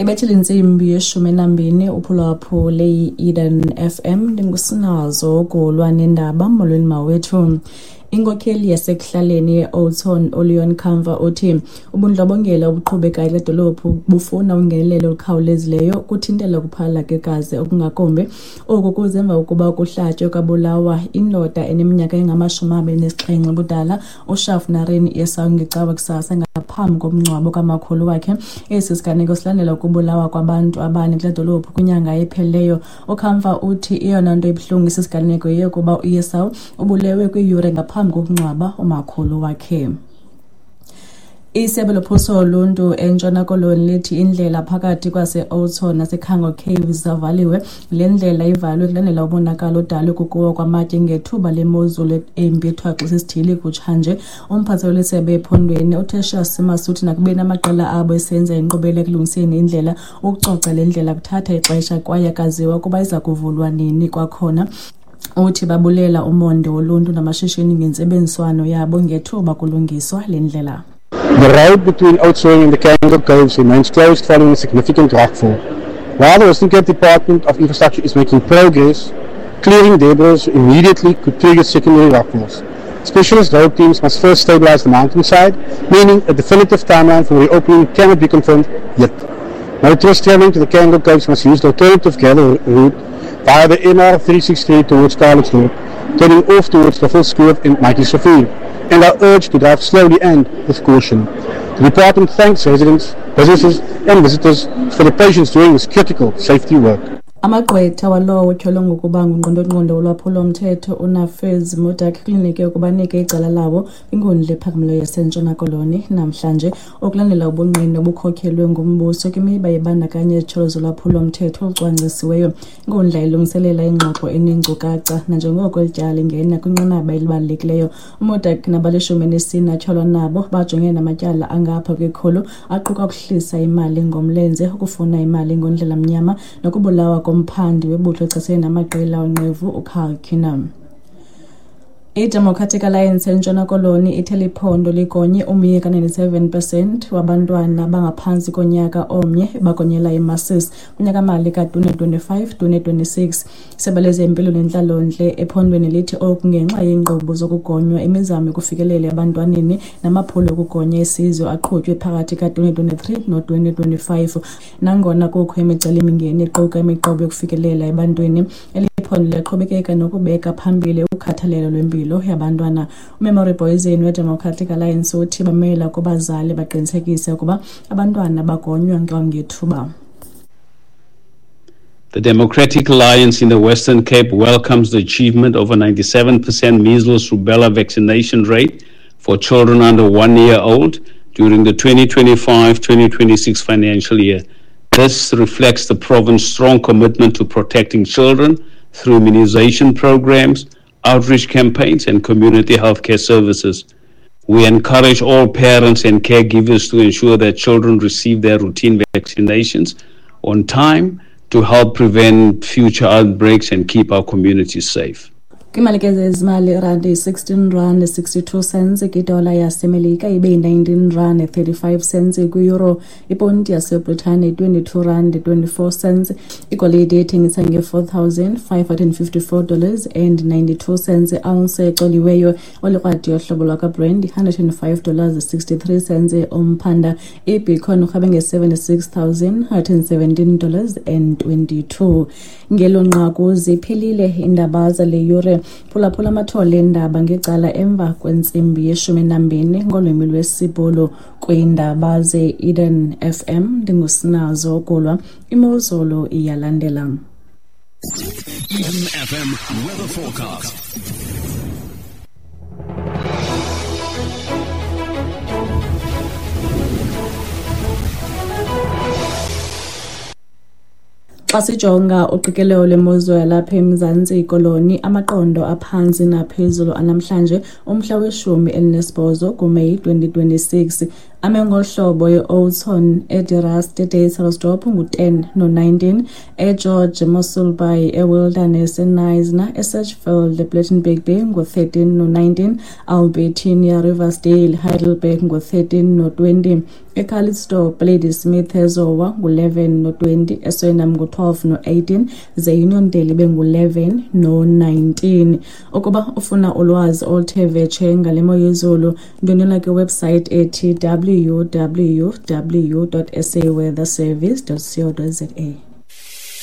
Ibethile intsimbi yeshumi nambini, uphulaphule i-Eden FM. Ndingusinazo Golwa nendaba. Molweni mawethu. Inkokheli yasekuhlaleni ye-Oudtshoorn, uLeon Kamfer, uthi ubundlobongela obuqhubekayo kule dolophu bufuna ungenelelo olukhawulezileyo ukuthintela ukuphalala kwegazi okungakumbi. Oku kuze emva kokuba kuhlatywe kwabulawa indoda eneminyaka engama-27 ubudala, uShaf Narin Esau, ngeCawa kusasa ngaphambi komngcwabo kamakhulu wakhe. Esi siganeko silandela ukubulawa kwabantu abane kule dolophu kwinyanga ephelileyo. UKamfer uthi eyona nto ibuhlungu esi siganeko yeyokuba uEsau ubulewe kwiiyure ngaphambi kokungcwaba umakhulu wakhe. Isebe lophuhliso loluntu eNtshona Koloni lithi indlela phakathi kwase-Oudtshoorn naseCango Caves zavaliwe. Le ndlela ivalwe kulandela umonakalo odalwe kukuwa kwamatye ngethuba lemozulu embi ethwaxisa isithili kutshanje. Umphathi weli sebe ephondweni, uTertius Simas, uthi nakubeni amaqela abo esenza inkqubela ekulungiseni indlela, ukucoca le ndlela kuthatha ixesha kwaye akaziwa ukuba iza kuvulwa nini kwakhona. Uthi babulela umonde woluntu namashishini ngentsebenziswano yabo ngethuba kulungiswa le ndlela. The road between Oudtshoorn and the Cango Caves remains closed following a significant rockfall. While the Western Cape Department of Infrastructure is making progress, clearing debris immediately could trigger secondary rockfalls. Specialist road teams must first stabilize the mountainside, meaning a definitive timeline for reopening cannot be confirmed yet. Motorists traveling to the Cango Caves must use the alternative gather route via the NR363 towards Carlsdorp, turning off towards Buffelskloof and Matjiesrivier, and are urged to drive slowly and with caution. The department thanks residents, businesses and visitors for the patience during this critical safety work. Amagqwetha walowo utyholwa ngokuba ngungqondongqondo wolwaphulo-mthetho uNafiz Modack klinike ukuba anike icala labo kwinkundla ephakamileyo yaseNtshona Koloni namhlanje, okulandela ubungqina obukhokhelwe ngumbuso kwimiba ebandakanya izityholo zolwaphulo-mthetho olucwangcisiweyo. Inkundla ilungiselela ingxoxo eneenkcukacha nanjengoko eli tyala lingena kwinqanaba elibalulekileyo. UModack nabalishumi elinesine atyholwa nabo bajongene namatyala angapha kwekhulu, aquka ukuhlisa imali ngomlenze, ukufuna imali ngondlela mnyama nokubulawa komphandi webutho echasene namaqela onqevu uCarl Keenum. I-Democratic Alliance eNtshona Koloni ithe liphondo ligonye umyinge ka-97% wabantwana abangaphantsi konyaka omnye bagonyela imasisi kunyaka-mali ka-2025-2026. Isebe lezempilo nentlalontle ephondweni lithi oku ngenxa yeenkqubo zokugonywa, imizamo yokufikelela ebantwaneni namaphulo okugonya esizwe aqhutywe phakathi ka-2023 no-2025. Nangona kukho imicelimingeni equka imiqobo yokufikelela ebantwini, eli phondo liyaqhubekeka nokubeka phambili ukhathalelo lwempilo yabantwana. UMemory Boysen weDemocratic Alliance uthi bamela kubazali baqinisekise ukuba abantwana bagonywa kwangethuba. The Democratic Alliance in the Western Cape welcomes the achievement of a 97% measles rubella vaccination rate for children under 1 year old during the 2025-2026 financial year. This reflects the province's strong commitment to protecting children through immunization programs, outreach campaigns, and community healthcare services. We encourage all parents and caregivers to ensure that children receive their routine vaccinations on time to help prevent future outbreaks and keep our communities safe. Kwimali ke zezimali, irandi yi-16 rand 62 cents kwidola yaseMelika, ibe yi-19 rand 35 cents kwi-euro, iponti yaseBritane 22 rand 24 cents. Igolide ithengisa nge-$4,554 and 92 cents ounce ecoliweyo. Olikrwadi yohlobo lwakwaBrent $105 63 cents umphanda. Ibitcoin urhabe nge-$76,117 and 22. Ngelo nqaku ziphelile iindaba zale yure. Phulaphula amathole eendaba ngecala emva kwentsimbi yeshumi nambini ngolwimi lwesiBhulu kwiindaba ze-Eden FM. Ndingusinazo Golwa. Imozulu iyalandela. Eden FM weather forecast. Xa sijonga uqikelelo lwemozulu yalapha eMzantsi Koloni, amaqondo aphantsi naphezulu anamhlanje, umhla weshumi elinesibhozo kuMeyi 2026. Ame ngohlobo e-Oudtshoorn, eDe Rust, eDeiselsdorp ngu-10 no-19, eGeorge, Mossel Bay, eWilderness, eKnysna, eSedgefield, ePlettenberg Bay ngu-13 no-19, Albertinia, Riversdale, Heidelberg ngu-13 no-20, eCalitzdorp, Ladysmith, eZowa ngu-11 no-20, eSwellnum ngu-12 no-18, ze Uniondale ibe ngu-11 no-19. Ukuba ufuna ulwazi oluthe vetshe ngale mo yezulu, ndwendwela kwiwebsite ethi www.saweatherservice.co.za.